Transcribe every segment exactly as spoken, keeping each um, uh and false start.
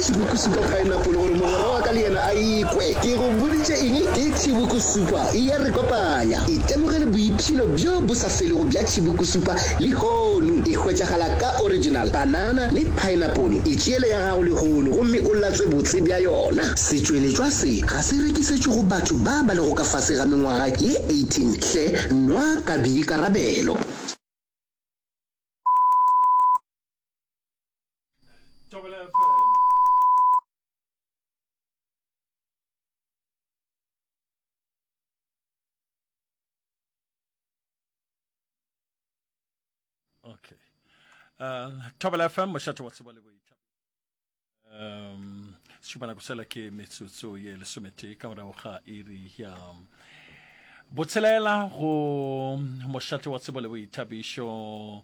Chibuku Super Pineapple gore mogwera wa ka le yena a ikwe. Ke go boditše eng? Ke Chibuku Super, e a re kopanya. Itemogele boipshino bjo bo sa felego bja Chibuku Super lehono. E hwetšagala ka original, banana le pineapple. Itšeele ya gago lehono gomme o latswe botse bja yona. Setšweletšwa se ga se rekisetšwe go batho ba ba lego ka fase ga mengwaga ye eighteen. Hle nwa ka boikarabelo. Thobela F M. Okay. Uh, Thobela F M, mošate wa tsebo le boithabišo. Um, šupana go sela ke metsotso ye lesometee ka morago ga iri ya botshelela go mošate wa tsebo le boithabišo.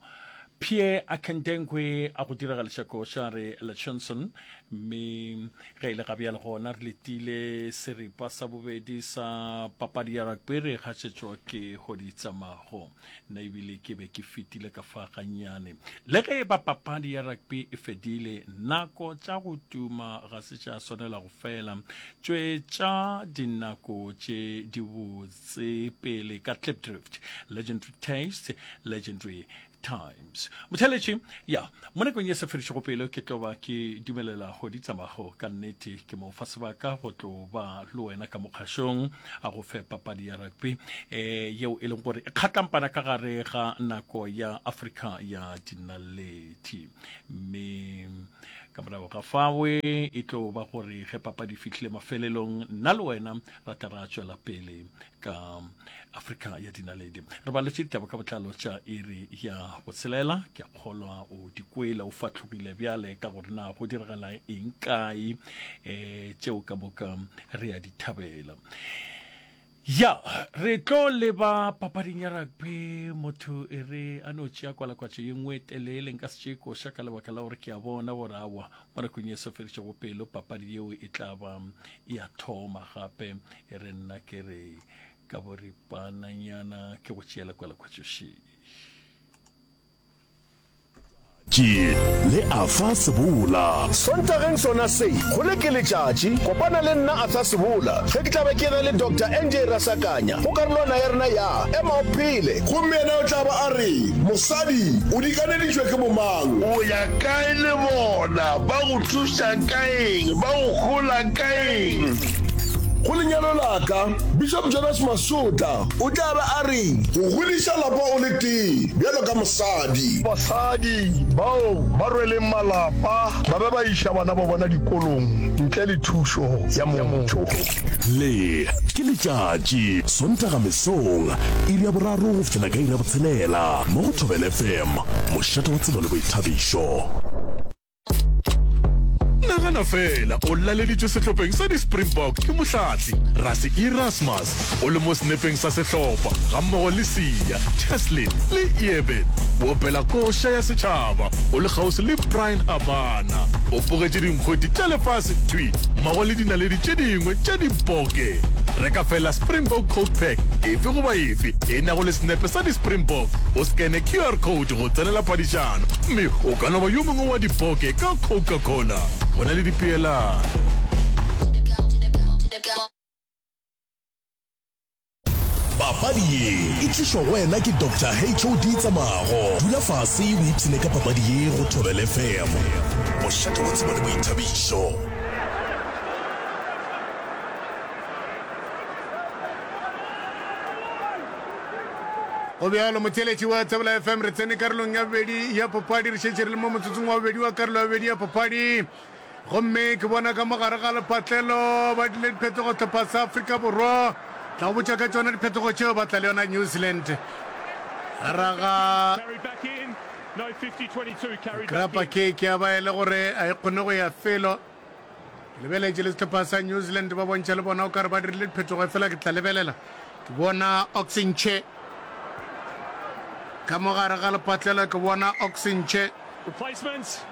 Pierre Akendengwe a go diragališa koša re Lechonson, mme ge e le gabjale gona re letile seripa sa bobedi sa papadi ya rugby re gašetšwa ke Hoditsamago. Nna ebile ke be ke fetile ka fa gannyane. Le ge e ba papadi ya rugby e fedile, nako tša go tuma ga se tša swanela go fela. Tšwetša dinako tše dibotse pele ka Klipdrift. Legendary taste, legendary times. Motheletši, ya, mo nakong ye sa fedišego pelo ke tlo ba ke dumelela go di tsamago ka nnete ke mo fa sebaka go tlo ba le wena ka mokgašong a go fe papadi ya rugby eh, yeo e leng gore e kgatlampana ka gare ga nako ya Afrika ya dinaledi. Mme ka morago ga fawe e tlo ba gore ge papadi e fihlile mafelelong nna le wena ra tla ra tšwela pele ka Afrika ya dinaledi. Re baletše ditaba ka botlalo tša iri ya botshelela. Ke a kgolwa o di kwele, o fahlogile bjale ka gore na go diragala eng kae. Um tšeo ka moka re a di thabela. Ya, re tlo leba papading ya rugby. Motho e re a no tšea kwalakwatšo ye nngwe e telele, nka se tšee koša ka lebaka la gore ke a bona gore awa mo nakong ye sa fedišego pelo papadi yeo e tla ba e a thoma gape. E re nna ke re ka boripananyana ke go tšeela kwalakwatšo še. Tše le Arthur Sebola. Sontageng sona se, go le ke letšatši, kopana le nna Arthur Sebola ge ke tla be ke ena le Doctor N J Rasakanya go karolwana ya rena ya Ema o Phele. Gomme yena o tla ba a re, Mosadi, o dikaneditšwe ke bomang? O ya kae le bona? Ba go thuša ka eng? Ba go hola ka eng? Go lenyalo la ka, Bishop Jonas Masotla o tla ba a re. Go godiša lapa o le tee bjalo ka mosadi. Basadi bao ba rweleng malapa ba be ba iša bana ba bona dikolong ntle le thušo ya motho. Le ke letšatši, Sontaga mesong, iri ya boraro go fihlela ka iri ya botshelela, mo go Thobela F M, mošate wa tsebo le boithabišo. Nagana feela o laleditšwe sehlopheng sa di-Springbok ke mohlahli Rassie Erasmus, o le mo senepeng sa sehlopha gammogo le Siya, Cheslin le Eben. O opela koša ya setšhaba o le kgauswi le Bryan Habana. O pogetše dinkgweti tša lefase thwi mmogo le dinaledi tše dingwe tša diboke. Reka feela Springbok Coke Pack efe goba efe e nago le senepe sa di-Springbok, o skene Q R code go tsenela phadišano mme o ka no ba yo mongwe wa diboke ka Coca-Cola. Go na le dipeelano. Papadi ye e tlišwa go wena ke Doctor H O D Tsamago. Dula fase o ipshine ka papadi ye go Thobela F M. Mošate wa tsebo le boithabišo. Go bjalo, motheeletši wa Thobela F M, re tsene karolong ya bobedi ya papadi. Re šetše re le mo motsotsong wa bobedi wa karolo ya bobedi ya papadi. Gomme ke bona ka mo gare ga lepatlelo ba dile diphetogo hlopha sa Afrika Borwa. Tla go botša ka tšona diphetogo tšeo ba tla le yona New Zealand. Raga grappa ke ya ba e le gore a e kgone go ya felo. Ke lebeletše le sehlopha sa New Zealand ba bontšha le bona o ka re ba dirile diphetogo, efela ke tla lebelela ke bona Oxenche ka mo gare ga lepatlelo, ke bona Oxenche. Replacements.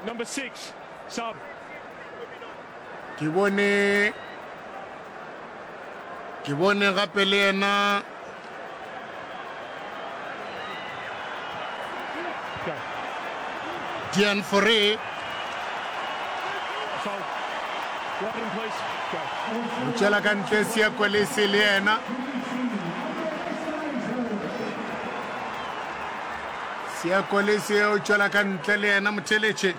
Number six, sub. Ke bone ke bone gape le yena Dian Fore. O tšwela ka ntle Siya Kolisi le yena. Siya Kolisi o tšwela ka ntle le yena motheletše.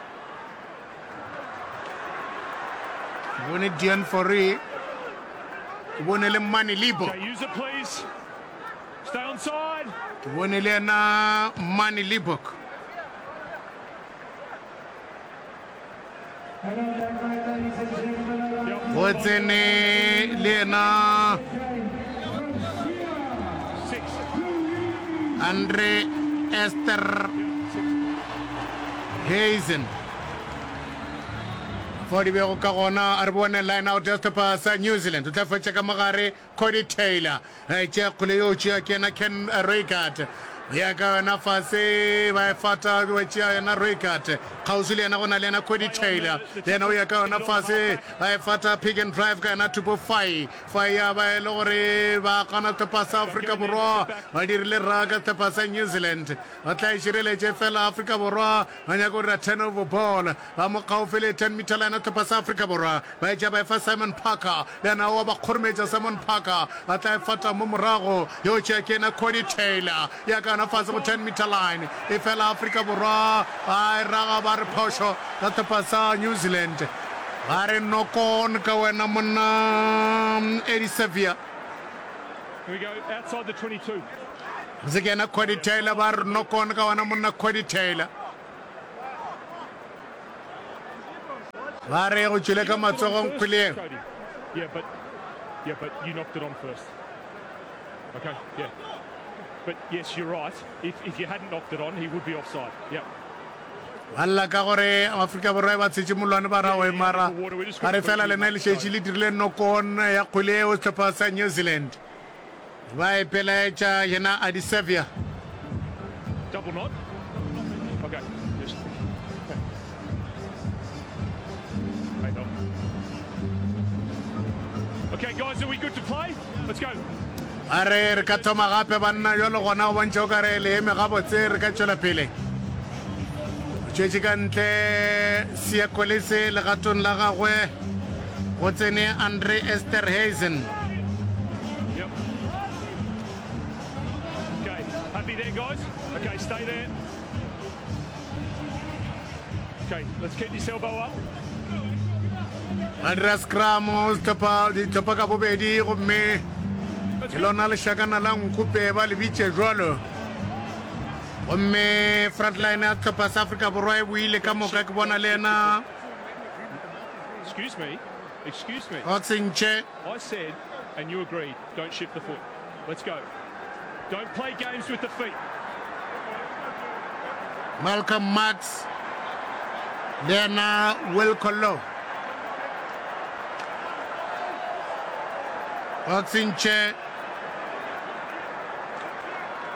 Ke bone Dion Fourie. Ke bone le Mane Lebo. Ke bone le yena Mane Lebok. Go tsene le yena Andre Ester Hazen. Fao di bego ka gona, a re bone line out ya sehlopha sa New Zealand. O tla fetša ka mogare Codie Taylor a e tšea kgole yo tšea ke yena Ken Reichardt. O ya ka yona fase ba e fata ba tšea yena Reichardt. Kgauswi le yena go na le yena Codie Taylor. Le yena o ya ka yona fase ba e fata pick and drive ka yena Tupo Fai. Fai ya ba e le gore ba gana sehlopha sa Afrika Borwa ba dirile raka sehlopha sa New Zealand. Ba tla e šireletše fela Afrika Borwa ba nyaka go dira turnover ball. Ba mo kgaufsi le ten meter line ya sehlopha sa Afrika Borwa. Ba etša ba efa Simon Parker, le yena wa ba kgorometša. Simon Parker a tla e fata mo morago, yo tšea ke yena Cody Taylor, ya ka yona fase go ten meter line. Efela Afrika Borwa ba e raga ba re phošo ka sehlopha sa New Zealand. Ba re knock on ka wena monna Eddie Saviour. Se ke yena Cody Taylor, ba re knock on ka wena monna Cody Taylor. Ba re go tšwele ka matsogong kgweleng. Yeah, but yeah, but you knocked it on first. Okay, yeah. But yes, you're right. If if you hadn't knocked it on, he would be offside. Yeah. Ba lla ka gore Afrika Borwa e ba tshetše molwane ba ra go mara ba re fela lena le šetše le dirile knock-on ya kgwele eo sehlopha sa New Zealand. Ba ipelaetša yena a di Saviour. Double knot. Okay. Just. Hey, no. Okay, guys, are we good to play? Let's go. A re re ka thoma gape banna jalo gona go bontšha o ka re le eme gabotse re ka tšwela pele. O tšwetše ka ntle Siya Kolisi legatong la gagwe go tsene Andre Esterhuizen. Yep. Okay, happy there, guys? Okay, stay there. Okay, let's keep this elbow up. Ba dira scrum sehlopha dihlopha ka bobedi gomme ke lona lešakana la nkupe ba le bitše jwalo. Gomme frontline ya sehlopha sa Afrika Borwa e boile ka moka ke bona le yena Excuse me. Excuse me. Otsentše. I said, and you agreed, don't shift the foot. Let's go. Don't play games with the feet. Malcolm Marx le yena Will Collo. Otsentše.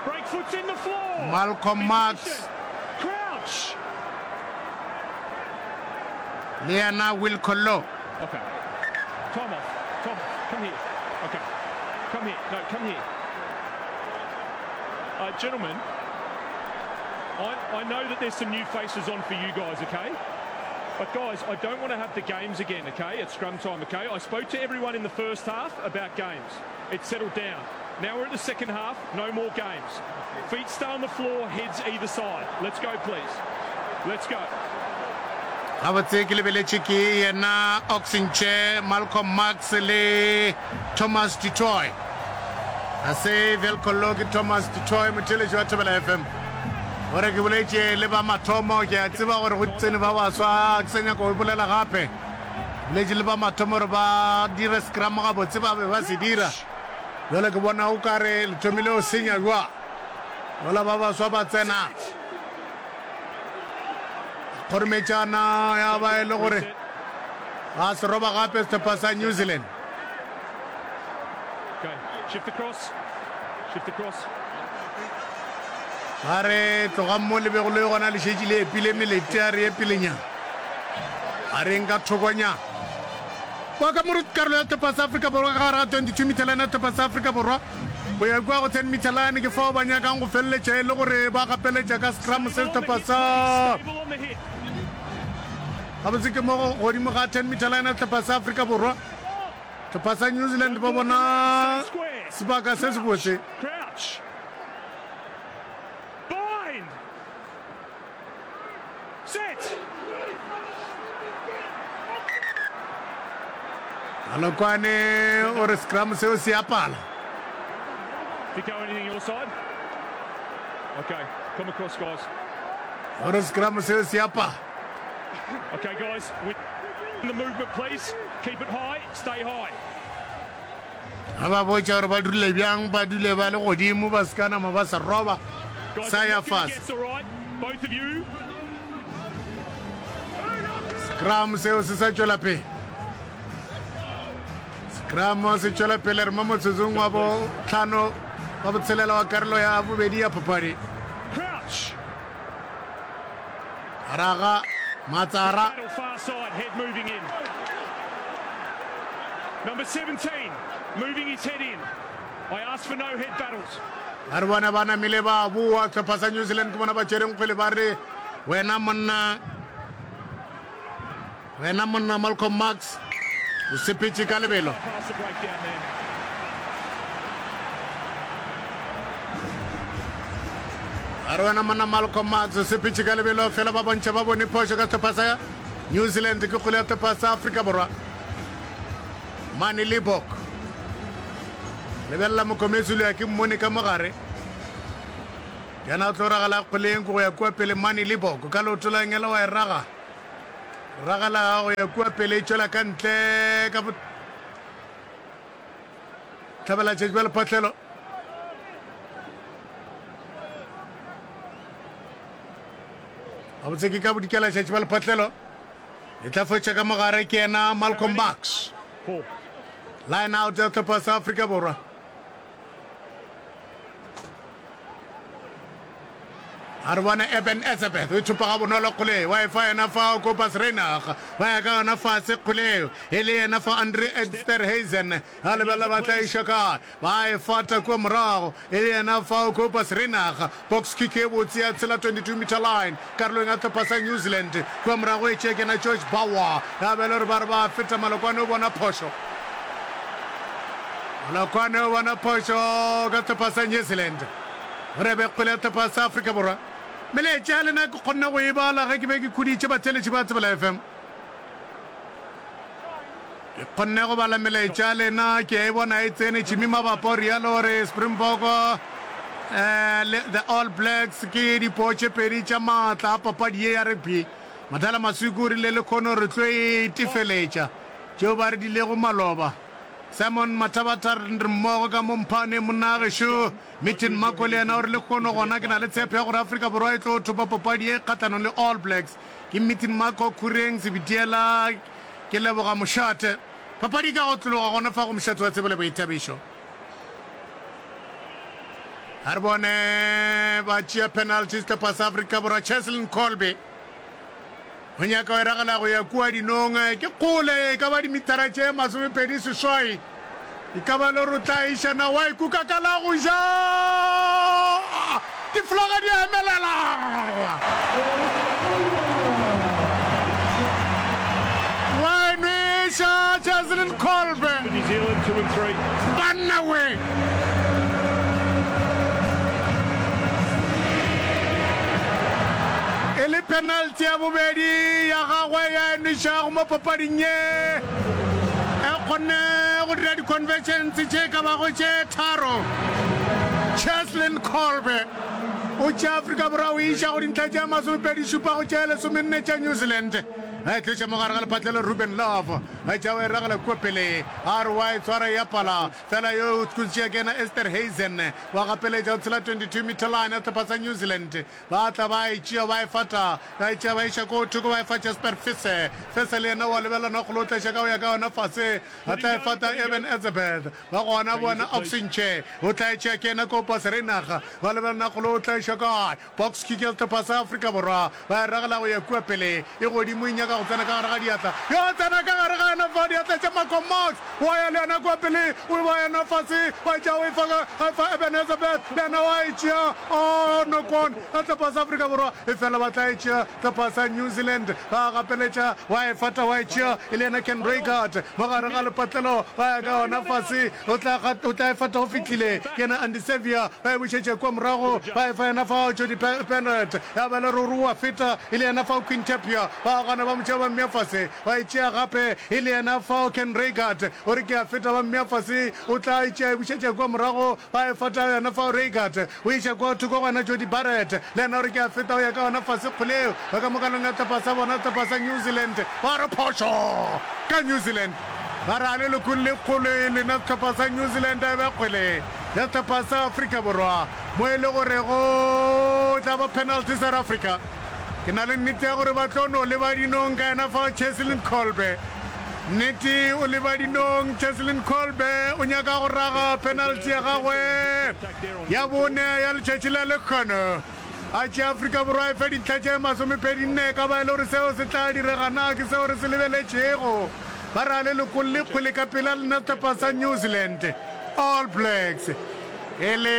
Break foot's in the floor. Malcolm Marx. Crouch. Le yena Will Collo. Okay. Time off. Time off. Come here. Okay. Come here. No, come here. Uh, gentlemen, I, I know that there's some new faces on for you guys, okay? But guys, I don't want to have the games again, okay, at scrum time, okay? I spoke to everyone in the first half about games. It settled down. Now we're at the second half, no more games. Feet stay on the floor, heads either side. Let's go, please. Let's go. Gabotse ke lebeletše ke yena Oxenche, Malcolm Marx le Thomas du Toit. Ga se Velco Lo, ke Thomas du Toit, motheeletši wa Thobela F M. Gore ke boletše le ba mathomo, ke a tseba gore go tsene ba baswa, ke sa nyaka go bolela gape. Boletše le ba mathomo gore ba dire scrum gabotse, ba be ba se dira. Bjale ke bona o ka re le thomile go senya jwa. Mola ba baswa ba tsena. Kgorometšana ya ba e le gore ga se roba gape sehlopha sa New Zealand. Okay, shift across. Shift across. Ba re tlogang mo le bego le gona le šetše le epile melete a re epelenyana. A reng ka thokonyana. Kwa ka mo karolo ya sehlopha sa Afrika Borwa ka gare ga twenty-two meter line ya sehlopha sa Afrika Borwa go ya kua go ten meter line ke fao ba nyakang go feleletša e le gore ba gapeletša ka scrum se sehlopha sa Gabotse ke mo godimo ga ten meter line ya sehlopha sa Afrika Borwa. Sehlopha sa New Zealand ba bona sebaka se sebotse. Malokwane o re scrum seo se a pala. O re scrum seo se a pala. Okay guys, with the movement please. Keep it high, stay high. Ga ba botša gore ba dule bjang, ba dule ba le godimo, ba se ka nama ba se roba sa ya fase. Scrum seo se sa tšwela pele. Scrum se tšwela pele re mo motsotsong wa bohlano wa botshelela wa karolo ya bobedi ya papadi. Raga Matsara. Ba re bona ba namile ba boa sehlopha sa New Zealand ke bona ba tšereng kgwele ba re wena monna wena monna Malcolm Marx o sepetše ka lebelo. A re wena monna Malcolm Marx o sepetše ka lebelo fela ba bontšha ba bone phošo ka sehlopha sa New Zealand ke kgwele ya sehlopha sa Afrika Borwa. Mane Libbok. Lebelela Mokomezulu ya ke mmone ka mogare. Yena o tlo ragela kgweleng go ya kua pele Mane Libbok ka leoto la ngela wa e raga. Ragela go ya kua pele e tšwela ka ntle ka hlabela tšatši bja lephahlelo. Gabotse ke ka bodikela tšatši bja lephahlelo. E tla fetša ka mogare ke yena Malcolm Marx. Line out ya sehlopha sa Afrika Borwa. A re bone Eben Etzebeth o ithupa ga bonolo kgole wa e fa yena fa Cobus Reinach ba ya ka yona fase kgole e le yena fa Andre Esterhuizen a lebelela ba tla iša kae ba e fata kua morago e le yena fa Cobus Reinach box kick e botse ya tshela twenty-two meter line karolong ya sehlopha sa New Zealand kua morago e tšea kena George Bauer ya bele gore ba re ba feta Malokwane o bona phošo Malokwane o bona phošo ka sehlopha sa New Zealand. Gore e be kgwele ya sehlopha sa Afrika Borwa. Melaetša ya lena ke kgonne go e bala ge ke be ke khuditše batheeletši ba Tsebela F M. Ke kgonne go bala melaetša ya lena, ke a e bona e tsene. Jimmy Mabapa o realo gore Springbok eh, le the All Blacks ke dipoo tše pedi tša maatla a papadi ye ya rugby. Madala Masuku o rile lekhono re tlo e tefeletša tšeo ba re dilego maloba. Simon Mathabatha re mmogo ka mo Mphane monna gešo. Metin Mako le yena o re lehono gona ke na le tshepo ya gore Afrika Borwa e tlo thopa papadi ye kgahlanong le All Blacks. Ke Metin Mako Khureng Sebitiela ke leboga mošate. Papadi e ka go tlologa gona fa go mošate wa tsebo le boithabišo. A re bone ba tšea penalty sehlopha sa Afrika Borwa Cheslin Kolbe. O nyaka go e ragela go ya kua dinong. Ke kgole, e ka ba dimithara tše masomepedi seswai. E ka ba le gore o tla iša na wa e kuka ka la go ja. Difolaga di a emelela. Wa e nweša Cheslin Kolbe. Banna we! E le penalty ya bobedi ya gagwe ya enwešago mo papading ye. E kgonne go dira di-conversions tše ka bago tše tharo. Cheslin Kolbe o tšea Afrika Borwa o iša go dintlha tše masomepedi šupa go tše lesomenne tša New Zealand. A e tloša mo gare ga lephatlelo Ruben Love a tšea o e ragela kua pele a re wa e tshwara ya pala fela yo o tšea ke yena Esterhuizen wa gapeletša o tshela twenty-two meter line ya sehlopha sa New Zealand. Ba tla ba e tšea ba e fata, ba e tšea ba iša ko thoko ba e fa Jasper Fese. Fese le yena wa lebelela nokgolo o tla iša ka go ya ka yona fase. A tla e fata Eben Etzebeth. Ba gona bona Oxenche o tla e tšea ke yena Cobus Reinach. Ba lebelela nokgolo o tla iša kae. Box kick ya sehlopha sa Afrika Borwa. Ba e ragela go ya kua pele. E godimo e nyaka go tsena ka gare ga diatla. Yo tsena ka gare ga yena fa diatla tša Malcolm Marx, wa ya le yena kua pele, o ba yena fase, wa tšea o e fa ka fa Eben Etzebeth, le yena wa e tšea, oh knock on ya sehlopha sa Afrika Borwa, efela ba tla e tšea sehlopha sa New Zealand, ba gapeletša, wa e fata wa e tšea, e le yena Ken Reigart mo gare ga lepatlelo, ba ya ka yona fase, o tla o tla e fata go fihlile, ke yena Andy Sevia, ba e bušetša kua morago, ba e fa yena fao Jody Bennett, ya ba le ruri wa feta, e le yena fao Quinn Tapia, ba gana ba mo tšea ba mmea fase, ba e tšea gape, e le yena fao Ken Reigart, o re ke a feta, ba mmea fase, o tla e tšea e bušetša kua morago, ba e fata yena fao Reigart, o iša kua thoko go yena Jody Barrett, le yena o re ke a feta, o ya ka yona fase kgole yeo, ba ka mokalong ya sehlopha sa bona, sehlopha sa New Zealand, ba re phošo ka New Zealand, ba re a le lokolle kgole lena sehlopha sa New Zealand, a e be kgwele ya sehlopha sa Afrika Borwa, mo e le gore go tla ba penalty South Africa. Ke na le nnete ya gore ba tlo no leba dinong ka yena fao Cheslin Kolbe. Nnete o leba dinong, Cheslin Kolbe o nyaka go raga penalty ya gagwe ya bone ya letšatši la lekgono. A tšea Afrika Borwa e fe dintlha tše masomepedi nne, ka ba e le gore seo se tla direga na ke seo re se lebeletšego. Ba re a le lokolle kgwele ka pela lena sehlopha sa New Zealand All Blacks. E le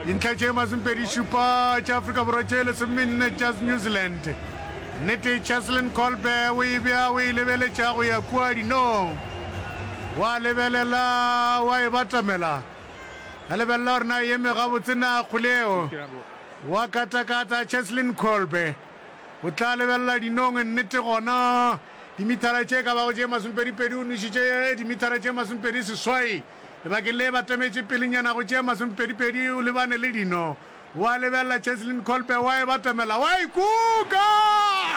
dintlha tše masomepedi šupa tša Afrika Borwa tše lesomenne tša New Zealand. Nnete Cheslin Kolbe o e bea o e lebeletša go ya kua dinong. Wa lebelela wa e batamela. A lebelela gore na e eme gabotse na kgole eo. Wa katakata Cheslin Kolbe. O tla lebelela dinong nnete gona. Dimithara tše ka bago tše masomepedipedi o nwešitše dimithara tše masomepedi seswai. Lebakeng le batametše pelenyana go tše masomepedipedi o lebane le dino. Wa lebelela Cheslin Kolbe wa e batamela wa e kuka!